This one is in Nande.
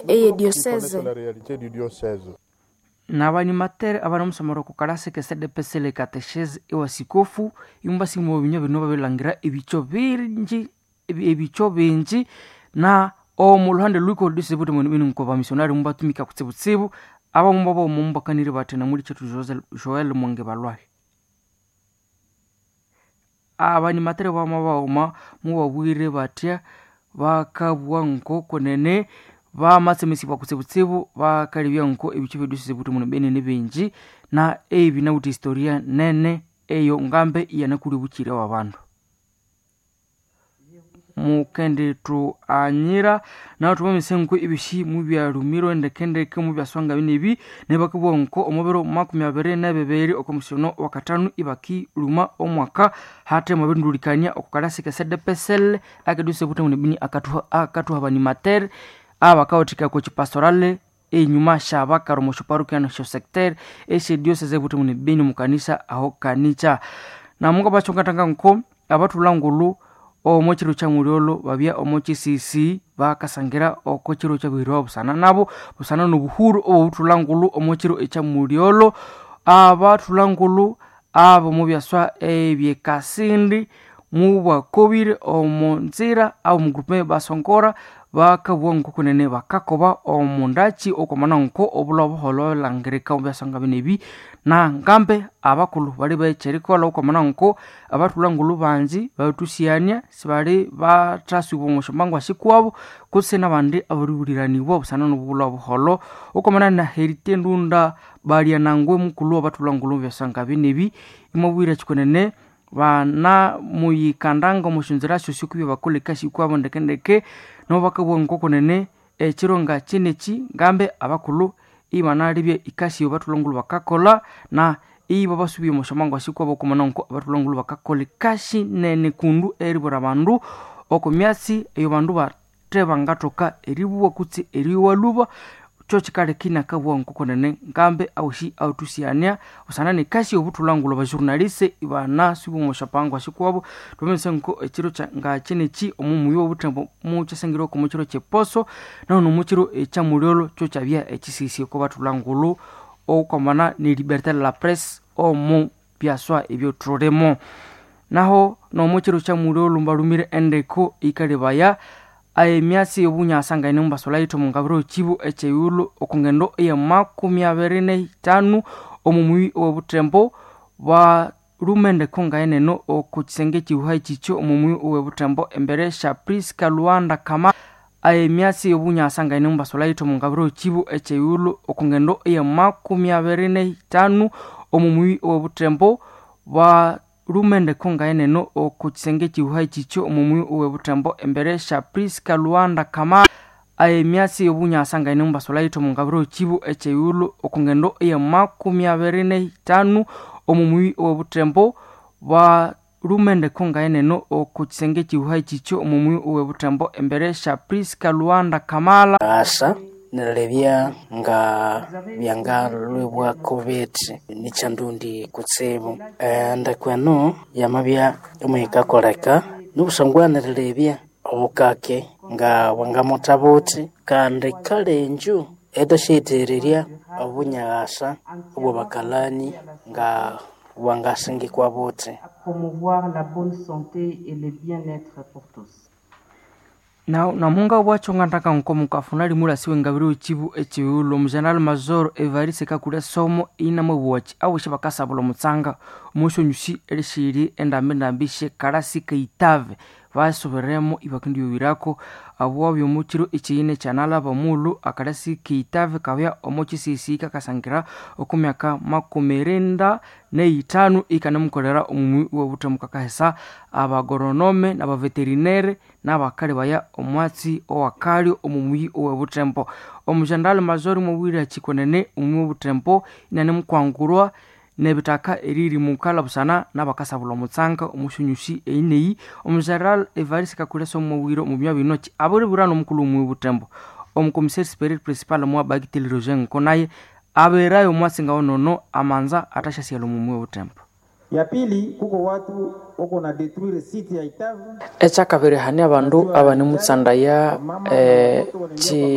eye diocese. N'abanimatere abanamusomera oko kalasi ke CDPC catechese ewasikofu imubasima obinywa bino babilangira ebicho bingi ebicho bingi na omu luhande lwiko diocese buti bino nko bamissionari mubatumika kutsibutsibu abamu babo mumbakanire bati namuli chetu Joel Mwenge balwahi abanimatere bama baghuma mubabwire batya bakabugha nkokunene bamatsemesibwa kutsibutsibu bakalebya nko ebicho bye diocese buti muno benene bingi na ebi nawithe historia nene eyo ngambe iyanakuli obukyire bw'abandu. Mukendithu anyira nahu thwamamisa nko ebyosi mubyalumirwe ndekendeke mubyaswanga binebi neryo bakabugha nko omubiro 22 okomusono wakathanu ibakiluma omwaka hathe mwabirindulhikania oko kalasi ke CDPSL ake diocese buthi bini akathuha abanimatere abakawathikaya okwa kipastorale enyuma syabakara omo syaparokia nesya sector esye diocese buthi muni beni omukanisa aho kanicha. Namunga nko abathulha ngulhu omo kiro kya mulyolho babya omo kisisi bakasangira oko kiro kyabihirwa busana nabo busana nobuhuru obobuthulha ngulhu omo kiro ekya mulyolho. Abathulha ngulhu abo mubyaswa ebyekasindi mubakobire omo nzira abo mugrupe basongora bakabugha nkokunene bakakoba omundaki okwamana nko obulha obuholho babirihangirika omu byaswanga binebi na ngambe abakulhu bali bekyerikolha okwamana nko abathulha ngulhu bangi babirithusiyania sibali bathasubwa omo syambangu sikwabo kutse nabandi ababiribuliranibwa busana nobulha obuholho okwamana na Herite Ndunda Balyanangwe mukulhu wabathulha ngulhu omu byaswanga binebi imwabwira kyikunene bana muyikandanga omo syonzira syosi okubya bakolha ekasi yikwabo ndekendeke nabo bakabugha nkokunene ekiro nga kyinekyi ngambe abakulhu ibanalebya ikasi eyo bathulha ngulhu bakakolha na ibabasubya omo syambangu sikwabo okwamana nko abathulha ngulhu bakakolha ekasi nene kundu eribwira abandu oko myatsi eyo bandu bathe bangathoka eribugha kutse eriyowa lhuba kyokikaleka inakabugha nkokunene ngambe awosi awathusyania busana nekasi yobuthulha ngulhu abajournaliste ibanasubya omo syambangu sikwabo. Thwamanyisa nko ekiro nga kyinekyi omo muyi wobuthembo mukyasangirwako omo kiro kyeposo nahu nomukiro ekyamulyolho kyokyabya ekisisi oko bathulha ngulhu okwamana ne liberté de la presse omu byaswa ebyothulimo. Naho nomukiro kyamulyolho mbalhumire endeko yikalebaya emyatsi yobunyasa ngaine mubasolhayithe omungabiro kibu ekyeyilhu okungendo eya 25 omu muyi owobuthembo balhuma endeko ngaeneno oko kisenge ekihuha kyikyo omu muyi owobuthembo embere sya Priska Lwanda Kama emyatsi yobunyasa ngaine mubasolhayithe omungabiro kibu ekyeyilhu okungendo eya 25 omu muyi owobuthembo balhuma endeko ngaeneno oko kisenge ekihuha kyikyo omu muyi owobuthembo embere sya Priska Lwanda Kama emyatsi yobunyasa ngaine mubasolhayithe omungabiro kibu ekyeyilhu okungendo eya 25 omu muyi owobuthembo balhuma endeko ngaeneno oko kisenge ekihuha kyikyo omu muyi owobuthembo embere sya Priska Lwanda Kamala. Asa nerilebya nga byangalhwibwako bithi nikyandundi kutsibu. Endeko eno yamabya omwikakoleka nobusangwa nerilebya obukake nga bwangamutha buthi kandi kale enju etasyayithererya obunyaghasa obwabakalani nga bwangasingikwa buthi. Promouvoir la bonne santé et le bien-être pour tous. Namunga bwakyo ngandaka nko mukafuna limulasi wengabiro kibu ekiwulo omugeneral major Evariste Kakule Somo inamwebuwaki awosi bakasabula omutsanga omusyonyusi erishiri endambi syekalasi keitave basoberemo ibakendiyowirako abo byomukiro ekiyine kyanalaba omulhu akalasi keitave kabya omo kisisi kakasangira oku myaka 95 ikanamukolera omumwi wobuthemu kakahesa abagoronome n'abaveterinere n'abakalebaya omwatsi owakalyo omumwi owobuthembo. Omugeneral major mwabwire kyikonene omumwi wobuthembo inanemukwangulwa nebitaka eriri mukala busana n'abakasabula omutsanga omusyonyusi eyineyi. Omugeneral Evariste Kakule Somo mwabwire omu binywa bino ki abiribwira n'omukulhu omumwi wobuthembo omukomiseri superior principal mwa Bagiteli Roger Nkonaye aberayo omwatsi ngawonono amanza athasyasighela omumwi wobuthembo. Ya pili kuko watu wako na detruire site ya Itavu Ekyakabiri hane abandu abanemutsandaya chikosi.